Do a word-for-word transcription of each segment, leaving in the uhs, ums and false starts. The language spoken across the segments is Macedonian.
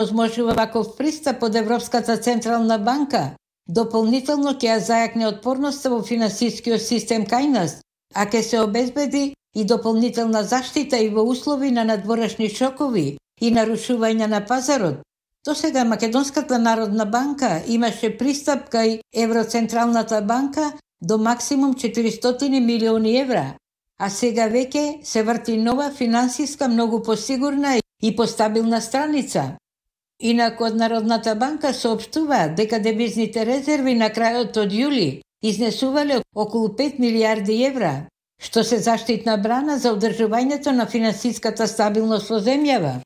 возможува ваков пристап од Европската централна банка, дополнително ќе ја зајакне отпорноста во финансискиот систем кај нас, а ќе се обезбеди и дополнителна заштита и во услови на надворешни шокови и нарушување на пазарот. Досега Македонската народна банка имаше пристап кај Евроцентралната банка до максимум четиристотини милиони евра, а сега веќе се врти нова финансиска многу посигурна и постабилна страница. Инаку од Народната банка соопштува дека девизните резерви на крајот од јули изнесувале околу пет милијарди евра, што се заштитна брана за одржувањето на финансиската стабилност во земјава.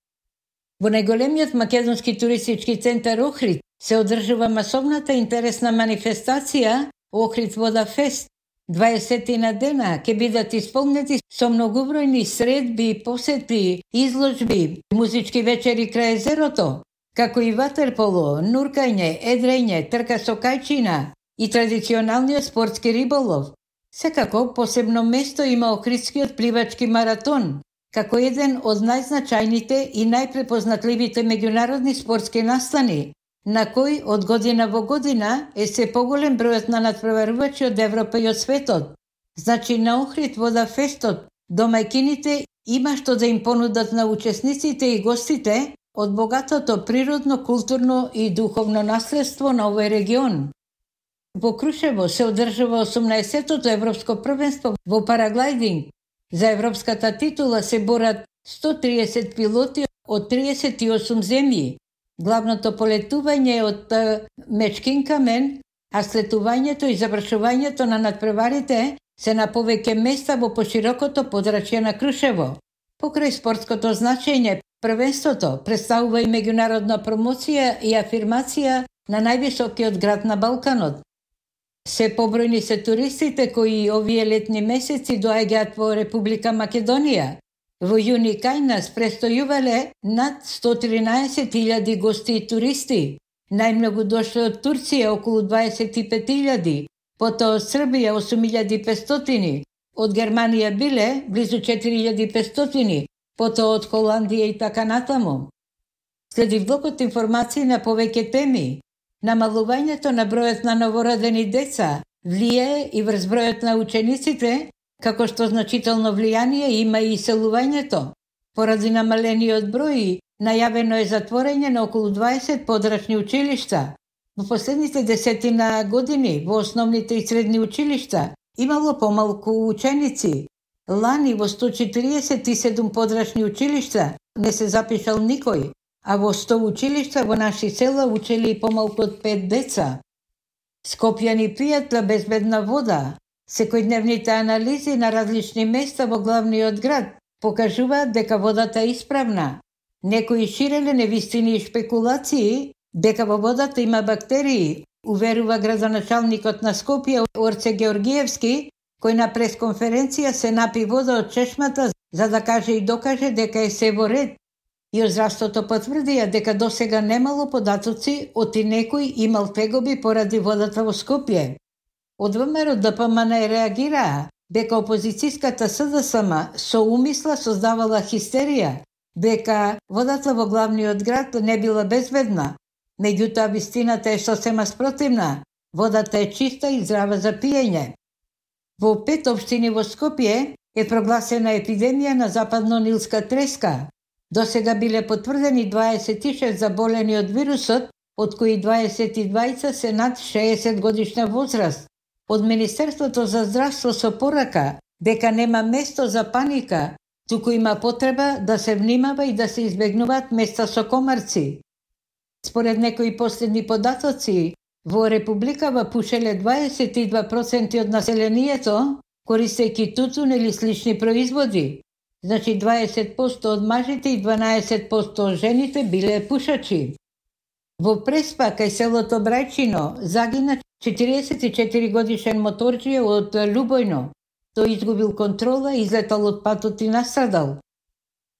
Во најголемиот македонски туристички центар Охрид се одржува масовната интересна манифестација Охрид Вода Фест. дваесетина дена ќе бидат исполнети со многубројни средби, посети, изложби, музички вечери крај езерото, како и ватерполо, нуркање, едрење, трка со кајчина и традиционалниот спортски риболов. Секако посебно место има Охридскиот пливачки маратон, како еден од најзначајните и најпрепознатливите меѓународни спортски настани, на кој од година во година е се поголем бројот на надпреварувачи од Европа и од светот. Значи на Охрид Вода Фестот домајкините има што да им понудат на учесниците и гостите од богатото природно, културно и духовно наследство на овој регион. Во Крушево се одржува осумнаесеттото европско првенство во параглайдинг. За европската титула се борат сто триесет пилоти од триесет и осум земји. Главното полетување е од Мечкин камен, а слетувањето и завршувањето на надпреварите се на повеќе места во поширокото подрачје на Крушево. Покрај спортското значење, првенството представува и меѓународна промоција и афирмација на највисокиот град на Балканот. Се побројни се туристите кои овие летни месеци доаѓаат во Република Македонија. Во јуни кај нас престојувале над сто тринаесет илјади гости и туристи. Најмногу дошле од Турција околу дваесет и пет илјади, потоа од Србија осум илјади и петстотини, од Германија биле близу четири илјади и петстотини, потоа од Холандија и така натаму. Следи влогот информации на повеќе теми. Намалувањето на бројот на новородени деца влијае и врз бројот на учениците, како што значително влијание има и иселувањето. Поради намалениот број, најавено е затворање на околу дваесет подрачни училишта. Во последните десетина години во основните и средни училишта имало помалку ученици. Лани во сто четириесет и седум подрачни училишта не се запишал никој, а во сто училишта во наши села учели и помалку од пет деца. Скопјани пијат безбедна вода. Секојдневните анализи на различни места во главниот град покажуваат дека водата е исправна. Некои ширеле невистини и шпекулации дека во водата има бактерии, уверува градоначалникот на Скопје Орце Георгиевски, кој на пресконференција се напи вода од чешмата за да каже и докаже дека е се во ред. И од здравството потврдија дека досега немало податоци оти некој имал тегоби поради водата во Скопје. Од ВМРО Д П М Н реагираа дека опозицијската С Д С М со умисла создавала хистерија, дека водата во главниот град не била безбедна. Меѓутоа вистината е сосема спротивна. Водата е чиста и здрава за пиење. Во пет општини во Скопје е прогласена епидемија на западно-нилска треска. Досега биле потврдени дваесет и шест заболени од вирусот, од кои дваесет и двајца се над шеесет годишна возраст. Од Министерството за здравство со порака дека нема место за паника, туку има потреба да се внимава и да се избегнуваат места со комарци. Според некои последни податоци, во Републикава пушеле дваесет и два проценти од населението, користејќи тутун или слични производи. Значи дваесет проценти од мажите и дванаесет проценти од жените биле пушачи. Во Преспа, кај селото Брајчино, загина четириесет и четири годишен моторџија од Лубојно. Тој изгубил контрола, излетал од патот и настрадал.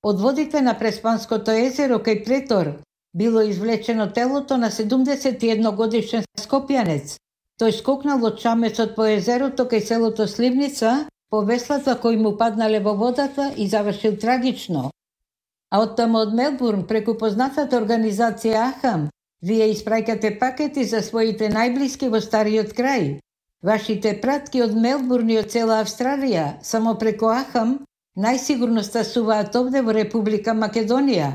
Од водите на Преспанското езеро кај Претор било извлечено телото на седумдесет и едно годишен скопјанец. Тој скокнал од чамецот по езерото кај селото Сливница, по веслата кои му паднале во водата и завршил трагично. А оттаму од Мелбурн, преку познатата организација Ахам, вие испраќате пакети за своите најблиски во стариот крај. Вашите пратки од Мелбурн и од цела Австралија, само преку Ахам, најсигурно стасуваат овде во Република Македонија.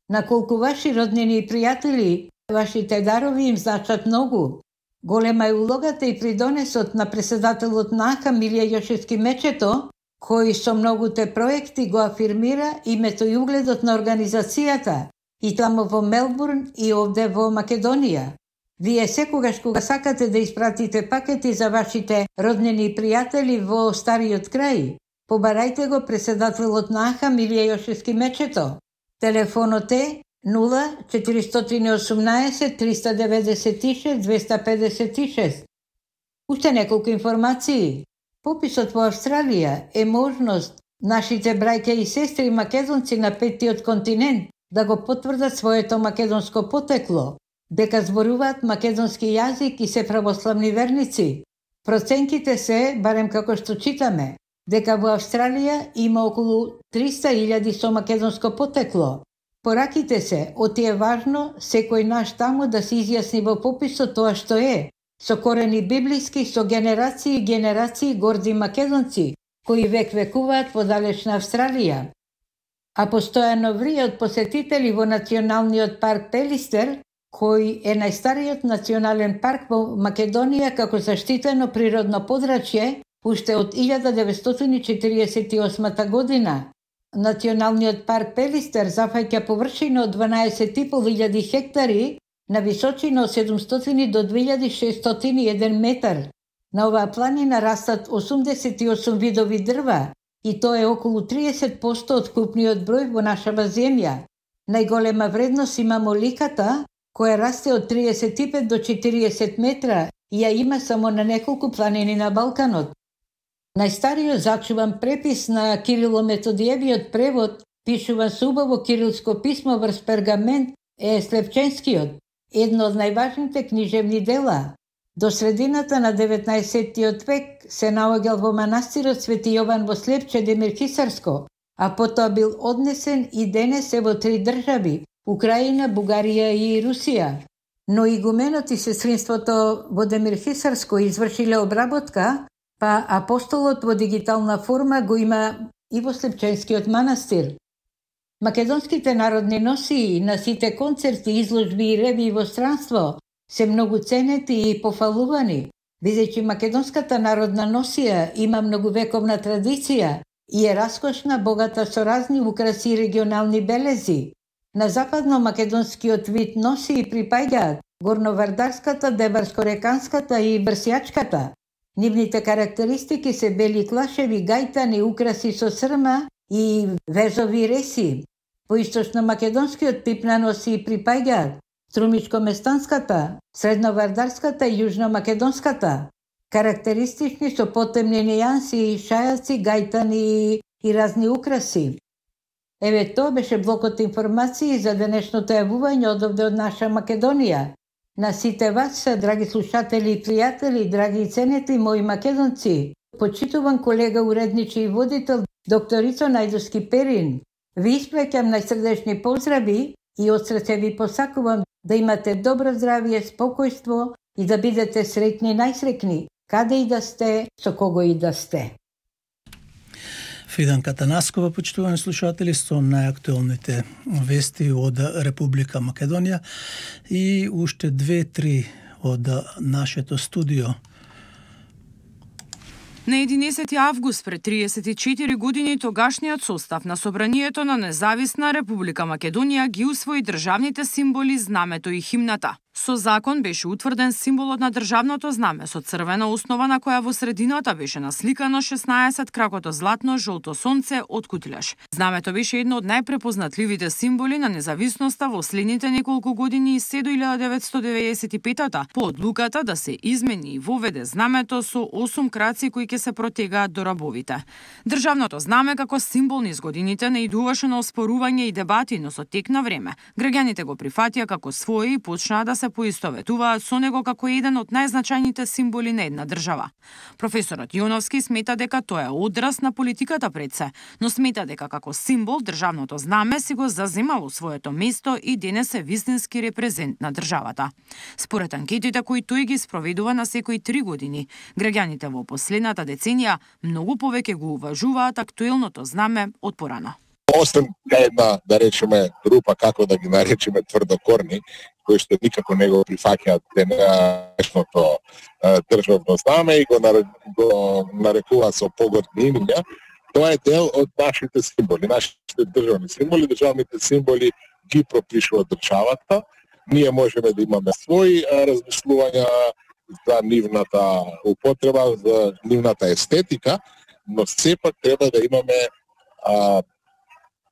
На колку ваши роднини и пријатели, вашите дарови им значат многу. Голема е улогата и придонесот на преседателот на Ахам Илија Јошевски Мечето, кој со многуте проекти го афирмира името и угледот на организацијата, и таму во Мелбурн и овде во Македонија. Вие секогаш кога сакате да испратите пакети за вашите роднини и пријатели во стариот крај, побарајте го преседателот на Ахам Илија Јошевски Мечето. Телефонот е нула четиристотини и осумнаесет триста деведесет и шест двеста педесет и шест. Уште неколку информации. Пописот во Австралија е можност нашите браќа и сестри македонци на петтиот континент да го потврдат своето македонско потекло, дека зборуваат македонски јазик и се православни верници. Проценките се, барем како што читаме, дека во Австралија има околу триста илјади со македонско потекло. Пораките се, оти е важно секој наш таму да се изјасни во пописот тоа што е, со корени библиски, со генерации и генерации горди македонци, кои век векуваат во далечна Австралија. А постојано врие од посетители во Националниот парк Пелистер, кој е најстариот национален парк во Македонија како заштитено природно подрачје, уште од илјада деветстотини четиридесет и осма година. Националниот парк Пелистер зафаќа површина од дванаесет и пол илјади хектари на височина од седумстотини до две илјади шестстотини и еден метар. На оваа планина растат осумдесет и осум видови дрва и тоа е околу триесет посто од купниот број во нашава земја. Најголема вредност има моликата, која расте од триесет и пет до четириесет метра и ја има само на неколку планини на Балканот. Најстариот зачуван препис на Кирило-Методиевиот превод, пишуван со убаво кирилско писмо врз пергамент, е Слепченскиот, едно од најважните книжевни дела. До средината на деветнаесеттиот век се наоѓал во манастирот Свети Јован во Слепче Демир Хисарско, а потоа бил однесен и денес е во три држави – Украина, Бугарија и Русија. Но игуменот и сестринството во Демир Хисарско извршиле обработка, па апостолот во дигитална форма го има и во Слепченскиот манастир. Македонските народни носии на сите концерти, изложби и ревии во странство се многу ценети и пофалувани, бидејќи македонската народна носија има многувековна традиција и е раскошна, богата со разни украси и регионални белези. На западно-македонскиот вид носии припаѓаат горновардарската, деварско-реканската и брсјачката. Нивните карактеристики се бели клашеви, гајтани, украси со срма и везови реси. По источно-македонскиот тип на носии припаѓаат струмичко-местанската, средновардарската и јужно-македонската. Карактеристични со потемни нијанси, шајаци, гајтани и разни украси. Еве тоа беше блокот информации за денешното јавување од овде од наша Македонија. На сите вас, драги слушатели и пријатели, драги и ценети мои македонци, почитуван колега, уредничи и водител, докторицо Најдовски Перин, ви испраќам најсрдечни поздрави и од срце ви посакувам да имате добро здравје, спокојство и да бидете среќни, најсреќни, каде и да сте, со кого и да сте. Фидан Катанаскова, почитувани слушатели, со најактуелните вести од Република Македонија и уште две-три од нашето студио. На единесети август пред триесет и четири години тогашниот состав на Собранието на Независна Република Македонија ги усвои државните символи, знамето и химната. Со закон беше утврден символот на државното знаме со црвена основа на која во средината беше насликано шеснаесет кракото златно жолто сонце од кутилеш. Знамето беше едно од најпрепознатливите символи на независноста во следните неколку години и се до илјада деветстотини деветдесет и петата по одлуката да се измени и воведе знамето со осум краци кои ќе се протегаат до рабовите. Државното знаме како символ низ годините наидуваше на оспорување и дебати, но со тек на време граѓаните го прифатија како свое и почнаа да се поистоветуваат со него како еден од најзначајните символи на една држава. Професорот Јоновски смета дека тоа е одраз на политиката пред се, но смета дека како символ државното знаме си го заземало своето место и денес е вистински репрезент на државата. Според анкетите кои тој ги спроведува на секои три години, граѓаните во последната деценија многу повеќе го уважуваат актуелното знаме од порано. Освен една, да речеме, група, како да ги наречеме тврдокорни, кои што никако не го прифаќаат денешното државно знаме и го, го нарекуваат со поготни имиња, тоа е дел од нашите символи, нашите државни символи. Државните символи ги пропишува државата. Ние можеме да имаме своји размислувања за нивната употреба, за нивната естетика, но сепак треба да имаме а,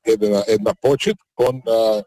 една, една почит кон а,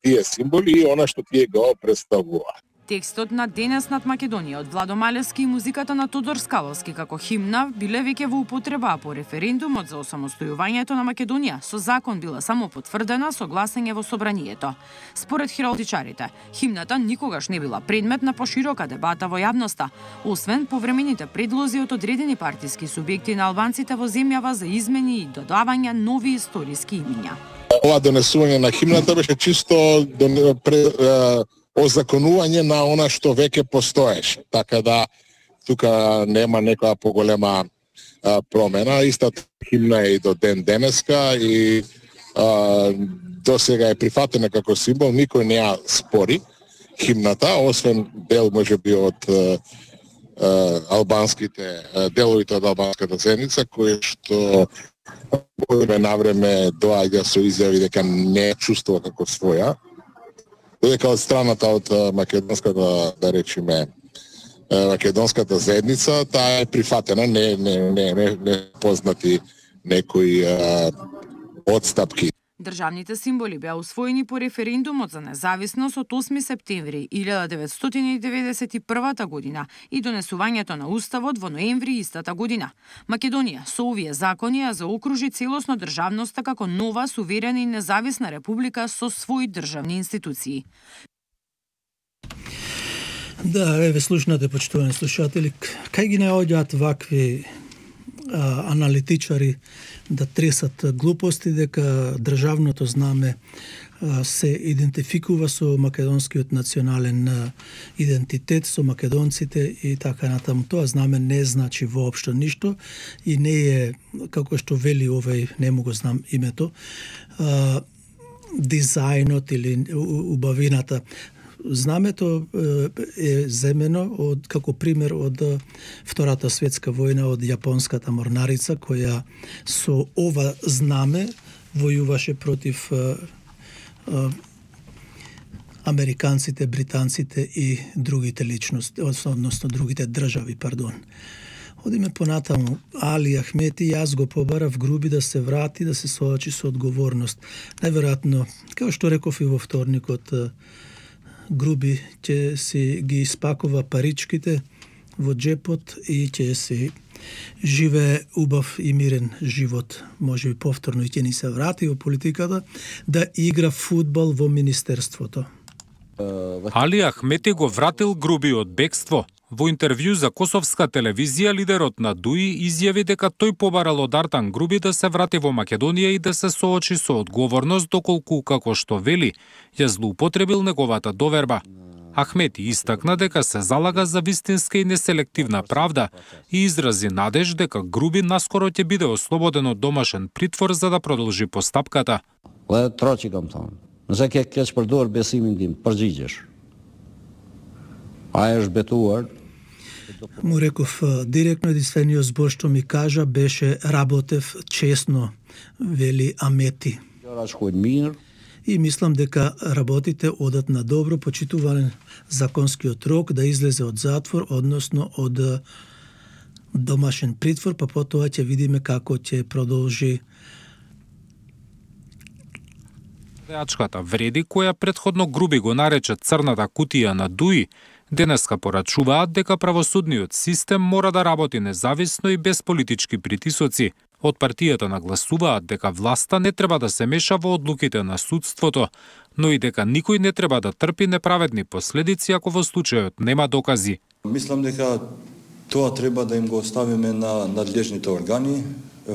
тие символи и она што тие го представуваат. Текстот на Денес над Македонија од Владо Малевски и музиката на Тодор Скаловски како химна биле веќе во употреба, по референдумот за осамостојувањето на Македонија со закон била само потврдена со гласање во собранието. Според хералдичарите, химната никогаш не била предмет на поширока дебата во јавноста, освен повремените предлози од одредени партиски субјекти на албанците во земјава за измени и додавање нови историски имиња. Ова донесување на химната беше чисто озаконување на она што веќе постоеше. Така да тука нема некоја поголема а, промена. Истата химна е и до ден денеска и а, до сега е прифатена како символ, никој не ја спори химната, освен дел можеби од а, а, албанските деловите од албанската заедница кои што од време на време доаѓа со изјави дека не чувствува како своја. Додека од страната од македонската, да речеме, македонската заедница, таа е прифатена, не не не не, не познати некои а, отстапки. Државните символи беа усвоени по референдумот за независност од осми септември илјада деветстотини и деветдесет и прва година и донесувањето на уставот во ноември истата година. Македонија со овие закони ја заокружи целосно државноста како нова, суверена и независна република со своји државни институции. Да, еве слушнате, почитувани слушатели, кај ги наоѓаат вакви а, аналитичари да тресат глупости дека државното знаме а, се идентификува со македонскиот национален а, идентитет, со македонците и така натаму. Тоа знаме не значи воопшто ништо и не е, како што вели овој, не му го знам името, а, дизајнот или убавината. Знамето е земено од како пример од Втората светска војна, од јапонската морнарица која со ова знаме војуваше против а, а, американците, британците и другите личности, односно другите држави, пардон. Одиме понатаму. Али Ахмети, јас го побарав Груби да се врати, да се соочи со одговорност. Најверојатно, како што реков и во вторникот, Груби ќе си ги испакува паричките во джепот и ќе си живее убав и мирен живот. Може би повторно и ќе ни се врати во политиката да игра фудбал во министерството. Али Ахмети го вратил Груби од бегство. Во интервју за косовска телевизија, лидерот на ДУИ изјави дека тој побарал од Артан Груби да се врати во Македонија и да се соочи со одговорност, доколку, како што вели, ја злоупотребил неговата доверба. Ахмети истакна дека се залага за вистинска и неселективна правда и изрази надеж дека Груби наскоро ќе биде ослободен од домашен притвор за да продолжи постапката. Трочикам таму. Nëse ke keq përdor besimin tim, përgjigjesh. Ai është betuar. Му реков директно, единствениот збор што ми кажа беше работев честно, вели Амети. И мислам дека работите одат на добро, почитуван законскиот рок да излезе од затвор, односно од домашен притвор, па потоа ќе видиме како ќе продолжи. Реачката вреди, која претходно Груби го нарече црната кутија на ДУИ, Денеска порачуваат дека правосудниот систем мора да работи независно и без политички притисоци. Од партијата нагласуваат дека власта не треба да се меша во одлуките на судството, но и дека никој не треба да трпи неправедни последици ако во случајот нема докази. Мислам дека тоа треба да им го оставиме на надлежните органи.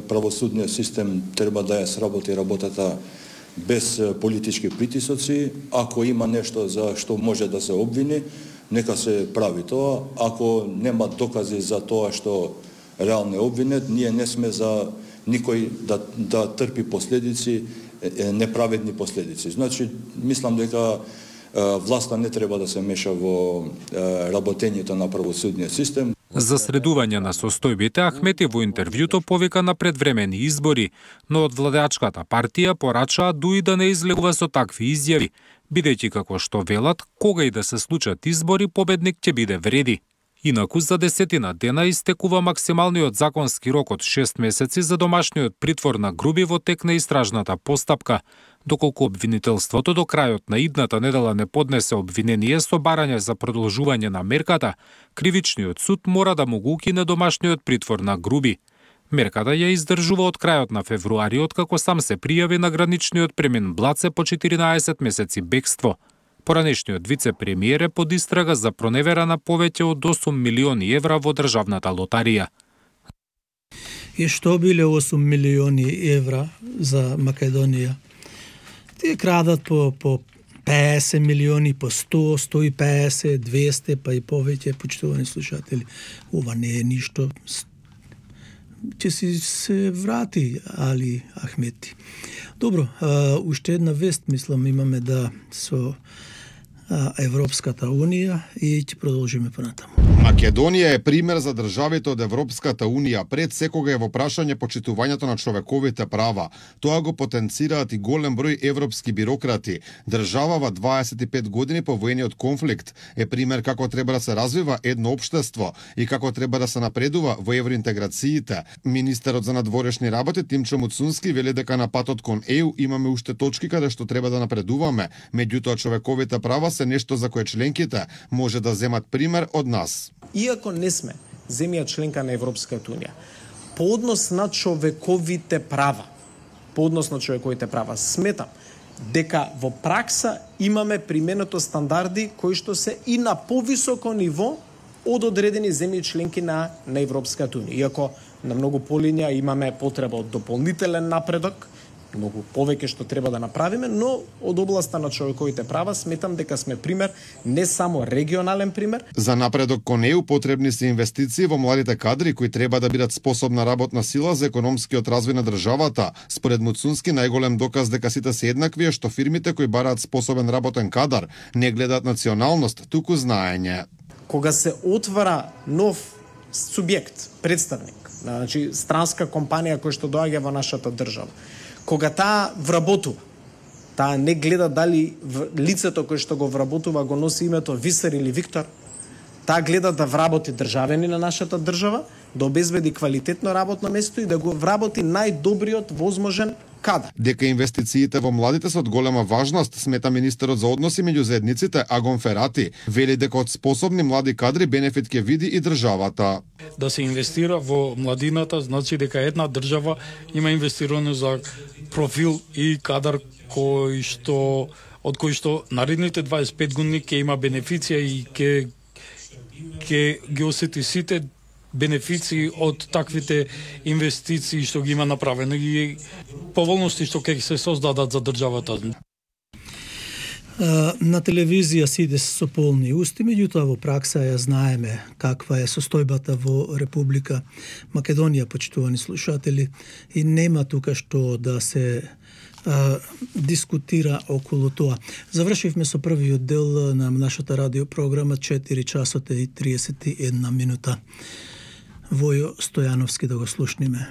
Правосудниот систем треба да ја сработи работата без политички притисоци. Ако има нешто за што може да се обвини, нека се прави тоа. Ако нема докази за тоа што реално е обвинет, ние не сме за никој да, да трпи последици, неправедни последици. Значи, мислам дека власта не треба да се меша во работењето на правосудниот систем. За средување на состојбите, Ахмети во интервјуто повика на предвремени избори, но од владеачката партија порачаа дуи да не излегува со такви изјави, бидејќи како што велат, кога и да се случат избори, победник ќе биде вреди. Инаку за десетина дена истекува максималниот законски рок од шест месеци за домашниот притвор на Груби во тек на истражната постапка, доколку обвинителството до крајот на идната недела не поднесе обвинение со барање за продолжување на мерката, кривичниот суд мора да му го укине домашниот притвор на Груби. Мерката ја издржува од крајот на февруари, откако сам се пријави на граничниот премин Блаце по четиринаесет месеци бегство. Поранешниот вице-премиер е под истрага за проневера на повеќе од осум милиони евра во државната лотарија. И што биле осум милиони евра за Македонија? Тие крадат по, по песет милиони, по сто, сто и песет, двесте, па и повеќе, почитувани слушатели. Ова не е ништо. Ќе си се врати Али Ахмети. Добро, а, уште една вест, мислам, имаме да со а, Европската Унија и ќе продолжиме понатаму. Македонија е пример за државите од Европската Унија, пред секога е во прашање почитувањето на човековите права. Тоа го потенцираат и голем број европски бирократи. Држава во дваесет и пет години по воениот конфликт е пример како треба да се развива едно општество и како треба да се напредува во евроинтеграциите. Министерот за надворешни работи Тимчо Муцунски вели дека на патот кон Е У имаме уште точки каде што треба да напредуваме, меѓутоа човековите права се нешто за кое членките може да земат пример од нас. Иако не сме земја членка на Европската Унија, по однос на човековите права, по однос на човековите права, сметам дека во пракса имаме применето стандарди кои што се и на повисоко ниво од одредени земји членки на, на Европската Унија. Иако на многу полиња имаме потреба од дополнителен напредок, многу повеќе што треба да направиме, но од областа на човековите права сметам дека сме пример, не само регионален пример. За напредок кон Е У потребни се инвестиции во младите кадри кои треба да бидат способна работна сила за економскиот развој на државата. Според Муцунски, најголем доказ дека сите се еднакви е што фирмите кои бараат способен работен кадар не гледаат националност, туку знаење. Кога се отвара нов субјект, представник, значи странска компанија која што доаѓа во нашата држава, кога таа вработува, таа не гледа дали лицето кое што го вработува го носи името Висер или Виктор, таа гледа да вработи државени на нашата држава, да обезбеди квалитетно работно место и да го вработи најдобриот возможен кадар. Дека инвестициите во младите се од голема важност, смета министерот за односи меѓу заедниците Агон Ферати. Вели дека од способни млади кадри бенефит ќе види и државата. Да се инвестира во младината, значи дека една држава има инвестирано за профил и кадар кој што од кој што наредните дваесет и пет години ќе има бенефиција и ќе ќе ги осети сите бенефиции од таквите инвестиции што ги има направено и поволности што ќе се создадат за државата. На телевизија сите со полни усти, меѓутоа во пракса ја знаеме каква е состојбата во Република Македонија, почитувани слушатели, и нема тука што да се а, дискутира околу тоа. Завршивме со првиот дел на нашата радиопрограма, четири часот и триесет и една минута. Војо Стојановски да го слушниме.